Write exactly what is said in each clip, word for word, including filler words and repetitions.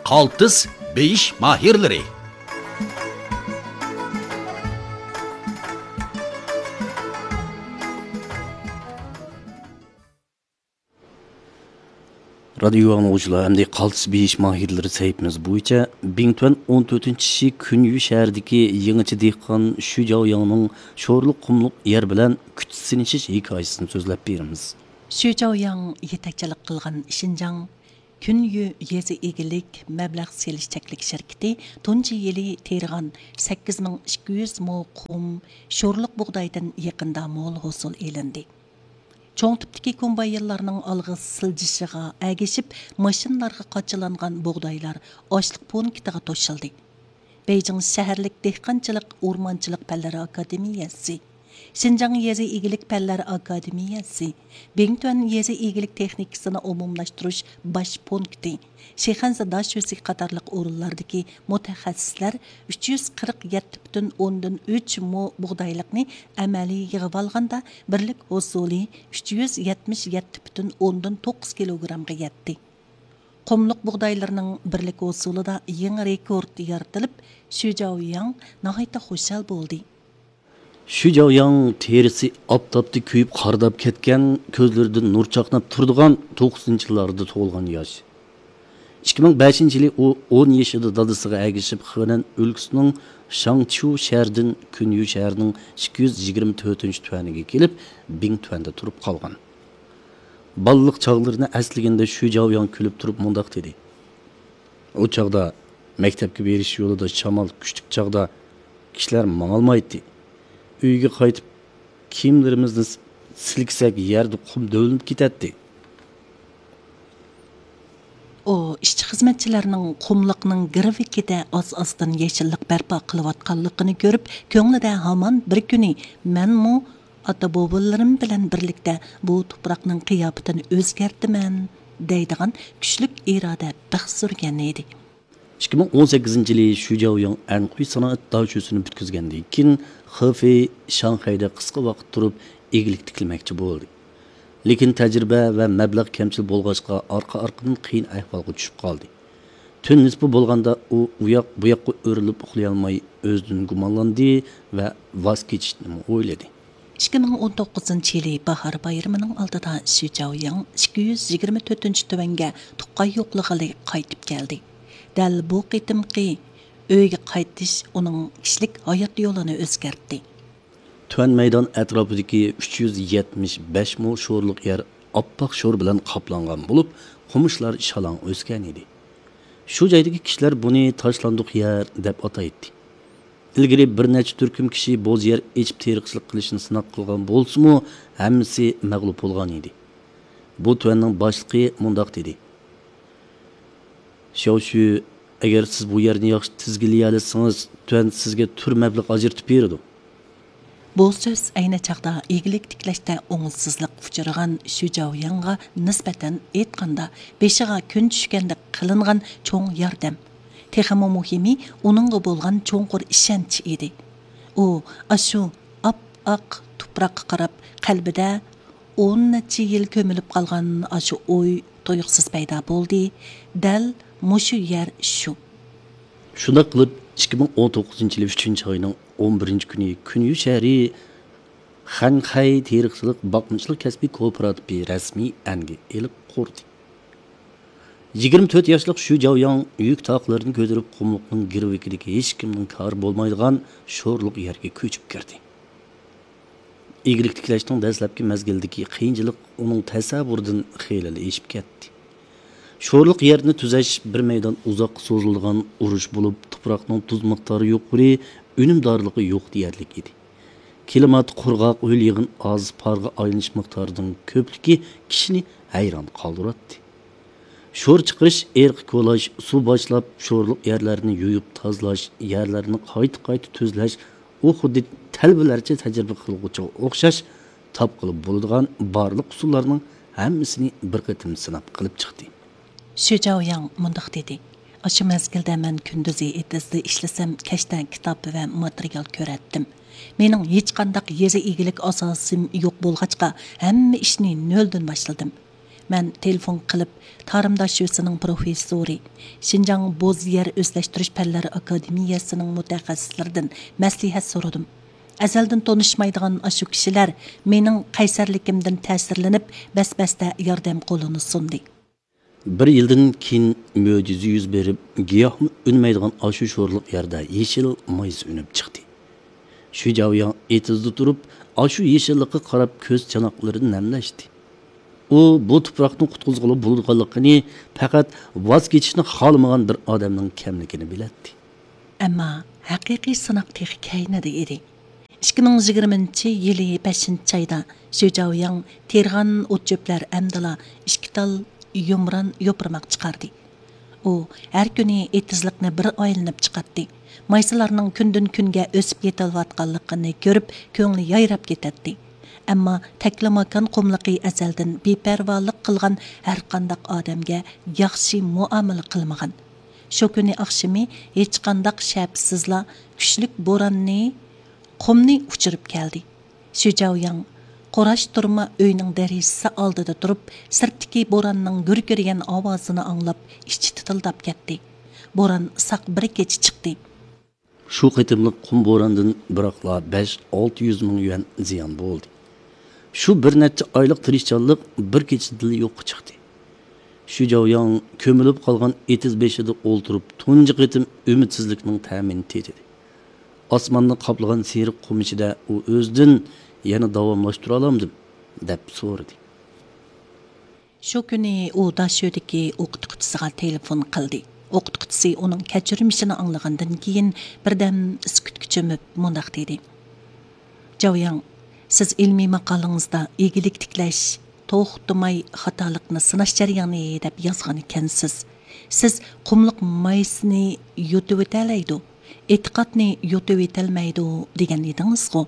قالتىس بېيىش ماھىرلىرى. رادىيو ئاڭلىغۇچىلار، ئەمدى قالتىس بېيىش ماھىرلىرى سەھىپىمىز بويىچە بىڭتۈەن ئون تۆتىنچى شى كۈنيۈ شەھىرىدىكى يېڭىچە دېھقان شۈ جاۋياڭنىڭ شورلۇق قۇملۇق يەر بىلەن كۈچ سىنىشىش ھېكايىسىنى سۆزلەپ بېرىمىز. شۈ جاۋياڭ يېتەكچىلىك قىلغان شىنجاڭ كۈنيۈ يېزا ئىگىلىك مەبلەغ سېلىش چەكلىك شىركىتى تۇنجى يىلى تېرىغان سەككىز مىڭ ئىككى يۈز مو قۇم شورلۇق بۇغدايدىن يېقىندا مول ھوسۇل ئېلىندى. چوڭ تىپتىكى كومباينلارنىڭ ئالغا سىلجىشىغا ئەگىشىپ، ماشىنىلارغا قاچىلانغان بۇغدايلار ئاشلىق پونكىتىغا توشۇلدى. بېيجىڭ شەھەرلىك دېھقانچىلىق، ئورمانچىلىق پەنلىرى ئاكادېمىيەسى، شىنجاڭ يېزا ئىگىلىك پەنلەر ئاكادېمىيەسى، بىڭتۈەن يېزا ئىگىلىك تېخنىكىسىنى ئومۇملاشتۇرۇش باش پونكىتى، شىخەنزە داشۆسى قاتارلىق ئورۇنلاردىكى مۇتەخەسسىسلەر ئۈچ يۈز قىرىق يەتتە پۈتۈن ئوندىن ئۈچ مو بۇغدايلىقنى ئەمەلىي يىغىۋالغاندا، بىرلىك ھوسۇلى ئۈچ يۈز يەتمىش يەتتە پۈتۈن ئوندىن توققۇز كىلوگرامغا يەتتى. قۇملۇق بۇغدايلىرىنىڭ بىرلىك ھوسۇلىدا يېڭى رېكورت يارىتىلىپ، شۈ جاۋياڭ ناھايىتى خۇشال بولدى. شۈ جاۋياڭ تېرىسى ئاپتاپتا كۆيۈپ قارىداپ كەتكەن، كۆزلىرىدىن نۇر چاقناپ تۇرىدىغان توقسىنىنچى يىللاردا تۇغۇلغان ياش. ئىككى مىڭ بەشىنچى يىلى ئۇ ئون يېشىدا دادىسىغا ئەگىشىپ، خېنەن ئۆلكىسىنىڭ شاڭچيۇ شەھىرىدىن كۈنيۈ شەھىرىنىڭ ئىككى يۈز يىگىرمە تۆتىنچى تۈەنىگە كېلىپ، بىڭتۈەندە تۇرۇپ قالغان. بالىلىق چاغلىرىنى ئەسلىگەندە شۈ جاۋياڭ كۈلۈپ تۇرۇپ مۇنداق دېدى: ئۇ چاغدا مەكتەپكە بېرىش يولىدا شامال كۈچلۈك چاغدا كىشىلەر ماڭالمايتتى. ئۆيگە قايتىپ كىيىملىرىمىزنى سىلكىسەك يەردە قۇم دۆۋىلىنىپ كېتەتتى. ئۇ ئىشچى خىزمەتچىلەرنىڭ قۇملۇقنىڭ گىرۋىكىدە ئاز-ئازدىن يېشىللىق بەرپا قىلىۋاتقانلىقىنى كۆرۈپ، كۆڭلىدە ھامان بىر كۈنى مەنمۇ ئاتا-بوۋىلىرىم بىلەن بىرلىكتە بۇ تۇپراقنىڭ قىياپىتىنى ئۆزگەرتىمەن دەيدىغان كۈچلۈك ئىرادە بىخ سۈرگەن ئىدى. ئىككى مىڭ ئون سەككىزىنچى يىلى شۈ جاۋياڭ ئەنخۇي سانائەت داشۆسىنى پۈتكۈزگەندىن كېيىن، خېفېي شاڭخەيدە قىسقا ۋاقىت تۇرۇپ، ئىگىلىك تىكلىمەكچى بولدى. لېكىن تەجرىبە ۋە مەبلەغ كەمچىل بولغاچقا، ئارقا-ئارقىدىن قىيىن ئەھۋالغا چۈشۈپ قالدى. تۈن نىسپا بولغاندا ئۇ ئۇياق-بۇياققا ئۆرۈلۈپ ئۇخلىيالماي، ئۆزىدىن گۇمانلاندى ۋە ۋاز كېچىشنىمۇ ئويلىدى. ئىككى مىڭ ئون توققۇزىنچى يىلى باھار بايرىمىنىڭ ئالدىدا شۈ جاۋياڭ ئىككى يۈز يىگىرمە تۆتىنچى تۈەنگە تۇغقان يوقلىغىلى قايتىپ كەلدى. دەل بۇ قېتىمقى ئۆيگە قايتىش ئۇنىڭ كىشىلىك ھايات يولىنى ئۆزگەرتتى. تۈەن مەيدان ئەتراپىدىكى ئۈچ يۈز يەتمىش بەش مو شورلۇق يەر ئاپئاق شور بىلەن قاپلانغان بولۇپ، قومۇشلار شالاڭ ئۆسكەن ئىدى. شۇ جايدىكى كىشىلەر بۇنى تاشلاندۇق يەر دەپ ئاتايتتى. ئىلگىرى بىر نەچچە تۈركۈم كىشى بوز يەر ئېچىپ تېرىقچىلىق قىلىشنى سىناق قىلغان بولسىمۇ، ھەممىسى مەغلۇپ بولغان ئىدى. بۇ تۈەننىڭ باشلىقى مۇنداق دېدى: شياۋشۈ، ئەگەر سىز بۇ يەرنى ياخشى تىزگىنلىيەلىسىڭىز، تۈەن سىزگە تۈر مەبلەغ ئاجرىتىپ بېرىدۇ. بۇ سۆز ئەينى چاغدا ئىگىلىك تىكلەشتە ئوڭۇشسىزلىققا ئۇچرىغان شۈ جاۋياڭغا نىسبەتەن ئېيتقاندا، بېشىغا كۈن چۈشكەندەك قىلىنغان چوڭ ياردەم. تېخىمۇ مۇھىمى، ئۇنىڭغا بولغان چوڭقۇر ئىشەنچ ئىدى. ئۇ ئاشۇ ئاپئاق تۇپراققا قاراپ، قەلبىدە ئون نەچچە يىل كۆمۈلۈپ قالغان ئاشۇ ئوي تۇيۇقسىز پەيدا بولدى. دەل مۇشۇ يەر شۇ. شۇنداق قىلىپ، ئىككى مىڭ ئون توققۇزىنچى يىلى ئۈچىنچى ئاينىڭ ئون بىرىنچى كۈنى كۈنيۈ شەھىرى خەنخەي تېرىقچىلىق باقمىچىلىق كەسپىي كوپىراتىپى رەسمىي ئەنگە ئېلىپ قۇردى. يىگىرمە تۆت ياشلىق شۈ جاۋياڭ يۈك تاقلىرىنى كۆتۈرۈپ، قۇملۇقنىڭ گىرۋىكىدىكى ھېچكىمنىڭ كارى بولمايدىغان شورلۇق يەرگە كۆچۈپ كىردى. ئىگىلىك تىكلەشنىڭ دەسلەپكى مەزگىلىدىكى قىيىنچىلىق ئۇنىڭ تەسەۋۋۇرىدىن خېلىلا ئېشىپ كەتتى. شورلۇق يەرنى تۈزەش بىر مەيدان ئۇزاققا سوزۇلىدىغان ئۇرۇش بولۇپ، تۇپراقنىڭ تۇز مىقدارى يۇقىرى، ئۈنۈمدارلىقى يوق دېيەرلىك ئىدى. كىلىمات قۇرغاق، ھۆل-يېغىن ئاز، پارغا ئايلىنىش مىقدارىنىڭ كۆپلۈكى كىشىنى ھەيران قالدۇراتتى. شور چىقىرىش، ئېرىق كولاش، سۇ باشلاپ، شورلۇق يەرلەرنى يۇيۇپ تازىلاش، يەرلەرنى قايتا-قايتا تۈزلەش، ئۇ خۇددى تەلۋىلەرچە تەجرىبە قىلغۇچىغا ئوخشاش، تاپقىلى بولىدىغان بارلىق ئۇسۇللارنىڭ ھەممىسىنى بىر قېتىم سىناپ قىلىپ چىقتى. شۈ جاۋياڭ مۇنداق دېدى: ئاشۇ مەزگىلدە مەن كۈندۈزى ئېتىزدا ئىشلىسەم، كەچتە كىتاب ۋە ماتېرىيال كۆرەتتىم. مېنىڭ ھېچقانداق يېزا ئىگىلىك ئاساسىم يوق بولغاچقا، ھەممە ئىشنى نۆلدىن باشلىدىم. مەن تېلېفون قىلىپ، تارىم داشۆسىنىڭ پروفېسسورى، شىنجاڭ بوز يەر ئۆزلەشتۈرۈش پەنلىرى ئاكادېمىيەسىنىڭ مۇتەخەسسىسلىرىدىن مەسلىھەت سورىدىم. ئەزەلدىن تونۇشمايدىغان ئاشۇ كىشىلەر مېنىڭ قەيسەرلىكىمدىن تەسىرلىنىپ، بەس-بەستە ياردەم قولىنى سۇندى. بىر يىلدىن كېيىن مۆجىزە يۈز بېرىپ، گىياھمۇ ئۈنمەيدىغان ئاشۇ شورلۇق يەردە يېشىل مايسا ئۈنۈپ چىقتى. شۈجاۋياڭ ئېتىزدا تۇرۇپ، ئاشۇ يېشىللىققا قاراپ كۆز چاناقلىرىنى نەملەشتى. ئۇ بۇ تۇپراقنى قۇتقۇزغىلى بولىدىغانلىقىنى، پەقەت ۋاز كېچىشنى خالىمىغان بىر ئادەمنىڭ كەملىكىنى بىلەتتى. ئەمما ھەقىقىي سىناق تېخى كەينىدە ئىدى. ئىككى مىڭ يىگىرمىنچى يىلى بەشىنچى ئايدا شۈجاۋياڭ تېرىغان ئوت-چۆپلەر ئەمدىلا ئىككى تال يۇمران يوپۇرماق چىقاردى. ئۇ ھەر كۈنى ئېتىزلىقنى بىر ئايلىنىپ چىقاتتى. مايسىلارنىڭ كۈندىن-كۈنگە ئۆسۈپ يېتىلىۋاتقانلىقىنى كۆرۈپ، كۆڭلى يايراپ كېتەتتى. ئەمما تەكلىماكان قۇملۇقى ئەزەلدىن بىپەرۋالىق قىلغان، ھەرقانداق ئادەمگە ياخشى مۇئامىلە قىلمىغان. شۇ كۈنى ئاخشىمى ھېچقانداق شەپىسىزلا كۈچلۈك بوراننى، قۇمنى ئۇچۇرۇپ كەلدى. شۈجاۋياڭ قوراشتۇرما ئۆينىڭ دېرىزىسى ئالدىدا تۇرۇپ، سىرتتىكى بوراننىڭ گۈركىرىگەن ئاۋازىنى ئاڭلاپ، ئىچى تىتىلداپ كەتتى. بوران ساق بىر كېچە چىقتى. شۇ قېتىملىق قۇم بوراندىن بىراقلا بەش، ئالتە يۈز مىڭ يۈەن زىيان بولدى. شۇ بىر نەچچە ئايلىق تىرىشچانلىق بىر كېچىدىلا يوققا چىقتى. شۈجاۋياڭ كۆمۈلۈپ قالغان ئېتىز بېشىدا ئولتۇرۇپ، تۇنجى قېتىم ئۈمىدسىزلىكنىڭ تەمىنى تېتىدى. ئاسماننى قاپلىغان سېرىق قۇم ئىچىدە ئۇ ئۆزىدىن، «يەنە داۋاملاشتۇرالامدىم؟» دەپ سورىدى. شۇ كۈنى ئۇ داشۆدىكى ئوقۇتقۇچىسىغا تېلېفون قىلدى. ئوقۇتقۇچىسى ئۇنىڭ كەچۈرمىشىنى ئاڭلىغاندىن كېيىن، بىردەم سۈكۈتكە چۆمۈپ مۇنداق دېدى: «جاۋياڭ، سىز ئىلمىي ماقالىڭىزدا ئىگىلىك تىكلەش توختىماي خاتالىقنى سىناش جەريانى دەپ يازغان ئىكەنسىز. سىز قۇملۇق مايسىنى يۇتۇۋېتەلەيدۇ، ئېتىقادنى يۇتۇۋېتەلمەيدۇ دېگەن ئىدىڭىزغۇ؟»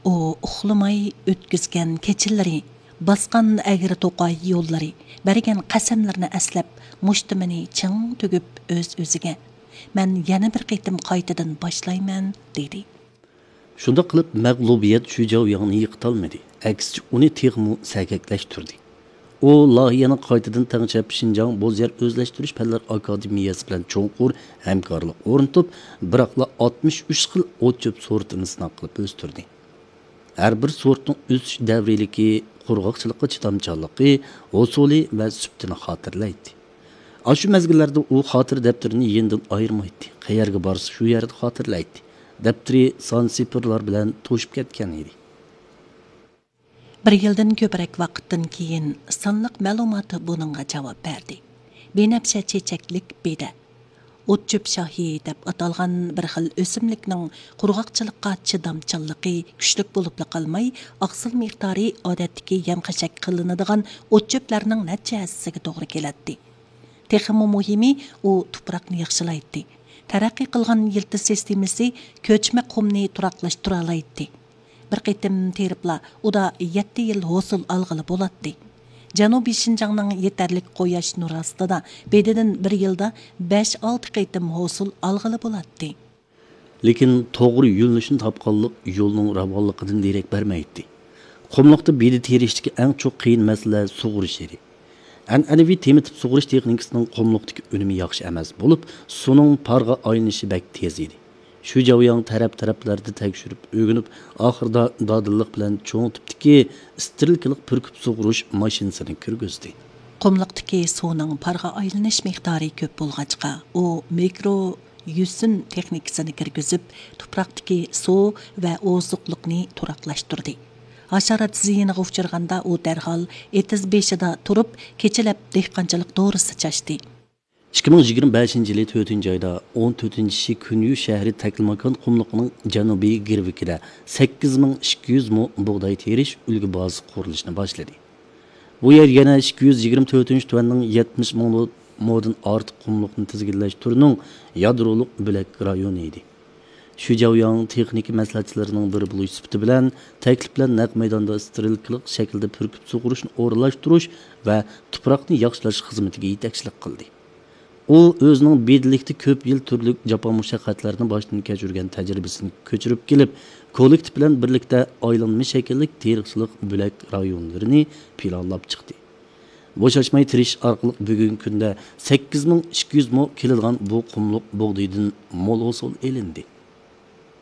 ئۇ ئۇخلىماي ئۆتكۈزگەن كېچىلىرى، باسقان ئەگرى توقاي يوللىرى، بەرگەن قەسەملىرىنى ئەسلەپ، مۇشتۇمىنى چىڭ تۈگۈپ ئۆز-ئۆزىگە، «مەن يەنە بىر قېتىم قايتىدىن باشلايمەن» دېدى. شۇنداق قىلىپ، مەغلۇبىيەت شۈجاۋياڭنى يىقىتالمىدى، ئەكسىچە، ئۇنى تېخىمۇ سەگەكلەشتۈردى. ئۇ لايىھەنى قايتىدىن تەڭشەپ، شىنجاڭ بوز يەر ئۆزلەشتۈرۈش پەنلىرى ئاكادېمىيەسى بىلەن چوڭقۇر ھەمكارلىق ئورنىتىپ، بىراقلا ئاتمىش ئۈچ خىل ئوت-چۆپ سورتىنى سىناق قىلىپ ئۆستۈردى. ھەر بىر سورتنىڭ ئۆسۈش دەۋرىيلىكى، قۇرغاقچىلىققا چىدامچانلىقى، ھوسۇلى ۋە سۈپىتىنى خاتىرىلەيتتى. ئاشۇ مەزگىللەردە ئۇ خاتىرە دەپتىرىنى يېنىدىن ئايرىمايتتى، قەيەرگە بارسا شۇ يەردە خاتىرىلەيتتى. دەپتىرى سان سىفىرلار بىلەن توشۇپ كەتكەن ئىدى. بىر يىلدىن كۆپرەك ۋاقىتتىن كېيىن سانلىق مەلۇماتى بۇنىڭغا جاۋاب بەردى. بىنەپشە چېچەكلىك بېدە، ئوت-چۆپ شاھى دەپ ئاتالغان بىر خىل ئۆسۈملۈكنىڭ قۇرغاقچىلىققا چىدامچانلىقى كۈچلۈك بولۇپلا قالماي، ئاقسىل مىقدارى ئادەتتىكى يەم-خەشەك قىلىنىدىغان ئوت-چۆپلەرنىڭ نەچچە ھەسسىسىگە توغرا كېلەتتى. تېخىمۇ مۇھىمى، ئۇ تۇپراقنى ياخشىلايتتى. تەرەققىي قىلغان يىلتىز سىستېمىسى كۆچمە قۇمنى تۇراقلاشتۇرالايتتى. بىر قېتىم تېرىپلا ئۇدا يەتتە يىل ھوسۇل ئالغىلى بولاتتى. جەنۇبىي شىنجاڭنىڭ يېتەرلىك قۇياش نۇرى ئاستىدا بېدىدىن بىر يىلدا بەش-ئالتە قېتىم ھوسۇل ئالغىلى بولاتتى. لېكىن توغرا يۆنىلىشنى تاپقانلىق يولنىڭ راۋانلىقىدىن دېرەك بەرمەيتتى. قۇملۇقتا بېدە تېرىشتىكى ئەڭ چوڭ قىيىن مەسىلە سۇغىرىش ئىدى. ئەنئەنىۋى تېمىتىپ سۇغىرىش تېخنىكىسىنىڭ قۇملۇقتىكى ئۈنۈمى ياخشى ئەمەس بولۇپ، سۇنىڭ پارغا ئايلىنىشى بەك تېز ئىدى. شۈجاۋياڭ تەرەپ-تەرەپلەردە تەكشۈرۈپ ئۆگىنىپ، ئاخىرىدا دادىللىق بىلەن چوڭ تىپتىكى ئىستېرىلكىلىق پۈركۈپ سۇغۇرۇش ماشىنىسىنى كىرگۈزدى. قۇملۇقتىكى سۇنىڭ پارغا ئايلىنىش مىقدارى كۆپ بولغاچقا، ئۇ مىكرو يۈسۈن تېخنىكىسىنى كىرگۈزۈپ، تۇپراقتىكى سۇ ۋە ئوزۇقلۇقنى تۇراقلاشتۇردى. ھاشارات زىيىنىغا ئۇچرىغاندا، ئۇ دەرھال ئېتىز بېشىدا تۇرۇپ، كېچىلەپ دېھقانچىلىق دورىسى چاچتى. ئىككى مىڭ يىگىرمە بەشىنچى يىلى تۆتىنچى ئايدا ئون تۆتىنچى شى كۈنيۈ شەھىرى تەكلىماكان قۇملۇقىنىڭ جەنۇبىي گىرۋىكىدە سەككىز مىڭ ئىككى يۈز مو بۇغداي تېرىش ئۈلگە بازىسى قۇرۇلۇشىنى باشلىدى. بۇ يەر يەنە ئىككى يۈز يىگىرمە تۆتىنچى تۈەننىڭ يەتمىش مىڭ مودىن ئارتۇق قۇملۇقنى تىزگىنلەش تۈرىنىڭ يادرولۇق بۆلەك رايونى ئىدى. شۈجاۋياڭ تېخنىكا مەسلىھەتچىلىرىنىڭ بىرى بولۇش سۈپىتى بىلەن تەكلىپ بىلەن نەق مەيداندا ئىستېرىلكىلىق شەكىلدە پۈركۈپ سۇغۇرۇشنى ئورۇنلاشتۇرۇش ۋە تۇپراقنى ياخشىلاش خىزمىتىگە يېتەكچىلىك قىلدى. ئۇ ئۆزىنىڭ بېدىلىكتە كۆپ يىل تۈرلۈك جاپا مۇشەققەتلەرنى باشتىن كەچۈرگەن تەجرىبىسىنى كۆچۈرۈپ كېلىپ، كوللېكتىپ بىلەن بىرلىكتە ئايلانما شەكىللىك تېرىقچىلىق بۆلەك رايونلىرىنى پىلانلاپ چىقتى. بوشاشماي تىرىشىش ئارقىلىق بۈگۈنكى كۈندە سەككىز مىڭ ئىككى يۈز مو كېلىدىغان بۇ قۇملۇق بۇغدىدىن مول ھوسۇل ئېلىندى.